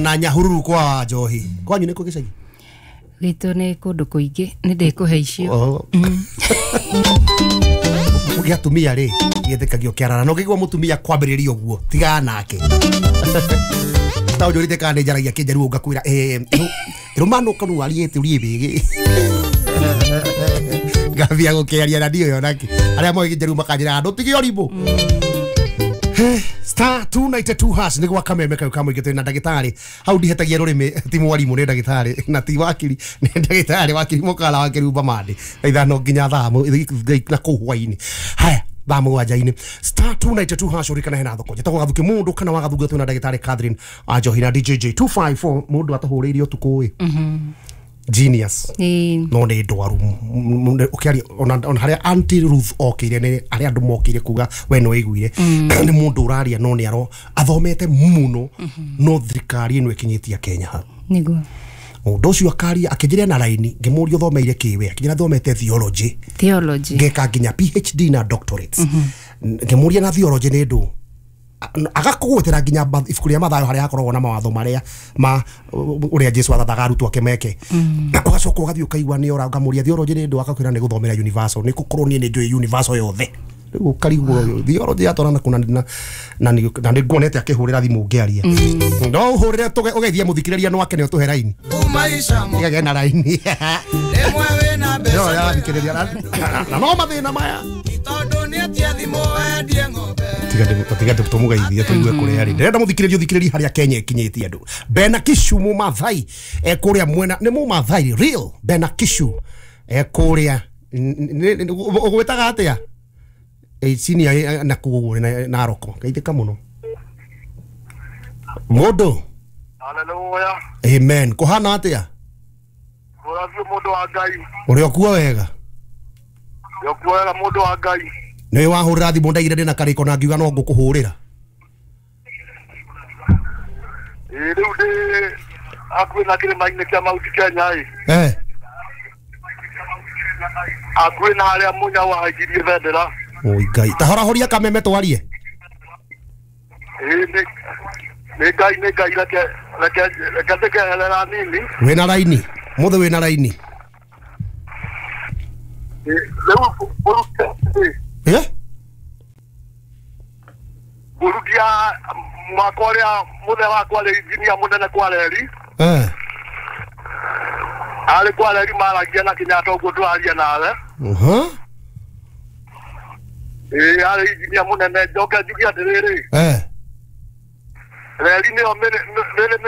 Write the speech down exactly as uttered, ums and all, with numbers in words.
Ona Nyahururu kwa Njohi. Kwanyu nĩ kũ gĩcagi? Gitũ nĩ kũndũ kũingĩ, nĩ ndĩkũhe icio. Gĩa atumia rĩ, gĩthĩkagio kĩarara. No ngĩigua mũtumia kwambĩrĩria ũguo, tigana nake. Ta ũnjũrĩte kana nĩ njaragia kĩnjaruo ngakwĩra, eh, ĩrũmano kanu ariĩte ũriĩ bĩgĩ. Ngathia gũkĩaria na ndiũĩ onakĩ. Arĩa moĩ kĩnjaruo makanjĩra, ndũtige ũrimũ. Star two ninety-two hash nĩ gwa kameme kau ka mũingĩ twĩ na ndagĩtarĩ hau ndihetagia rũrĩmĩ ti mwarimũ nĩ ndagĩtarĩ na ti wakiri nĩ ndagĩtarĩ wakiri mũkara wa Kĩrumba Mandĩ thaa ithano nginya thaa na kũu hwainĩ haya thaa mũgwanja-inĩ. Star two ninety-two hash ũrikana hena thoko njĩtagwo Gathuki mũndũ kana wa Gathunga twĩ na ndagĩtarĩ Catherine Anjohi na D J J two five four mũndũ atũhũrĩire ũtukũ ĩ genius no nĩ ndwaru ũkĩaria ona harĩa Auntie Ruth okĩire nĩ harĩa andũ mokĩire kuga we no iguire nĩ mũndũ ũraria no nĩ aro athomete mũno no thirikari ĩno ĩkinyĩtie Kenya hau nĩguo mũndũ ũcio akaria akĩnjĩra na raini ngĩmũria ũthomeire kĩwe akĩnjĩra thomete theology theology ngeka nginya P H D na doctorates ngĩmũria na theology nĩ ndũ agakũgwetera nginya ibuku rĩa Mathayo harĩa hakoragwo na mawatho marĩa ma ũrĩa Jesu athathaga arutwo ake meke ũgacoka ũgathiĩ ũkaigua nĩ ora ngamũria theology nĩ ndũ akakwĩra nĩ gũthomera universal nĩ gũkorwo niĩ nĩ njũĩ universal yothe rĩu ũkarigwo theology yatwarana kũna na na nĩ nguonete akĩhũrĩra thimũ ngĩaria no ũhũrĩre ũgeithie mũthikĩrĩria no akene ũtũhe raini ĩgagĩa na raini na no mathĩna maya tiga tũmũgeithie tũigue kũrĩa arĩ ndĩrenda mũthikĩrĩria ũthikĩrĩrie harĩa Kenya ĩkinyĩtie andũ Bena Kishu Mũmathai e kũrĩa mwena nĩ Mũmathai real Bena Kishu e kũrĩa ũgwĩtaga atĩa e senior na kũu Naroko geithĩka mũno mũndũ. Hallelujah. Amen. Kũhana atĩa? Kũrathio mũndũ wa Ngai. Ũrĩ okuo wega? Ũrĩ okuo wega mũndũ wa Ngai. Nĩ wahũrĩra thimũ ndaigire ndĩna karĩko na ngiuga no ngũkũhũrĩra. Ĩĩ rĩu ndĩ hakuhĩ na kĩrĩma-inĩ kĩa Mount Kenya ĩ. Eh. Hakuhĩ na harĩa Mũnyau ahaikirie bendera. Oi Ngai. Ta horahoria kameme twarie. Ĩĩ nĩ nĩ Ngai nĩ Ngai reke reke reke ndĩkeherera nini. Wĩna raini. Mũthĩ wĩna raini. Rĩu ũrute. Eh? Gurudia mwaka ũrĩa mũthee wakwa arĩ injinia mũnene kwa reri. Eh. Arĩ kwa reri maragia na Kenyatta ũguo tũraria nawe. Mhm. Ĩĩ arĩ injinia mũnene njoke njuge atĩrĩrĩ. Eh. Reri nĩyo mĩrĩ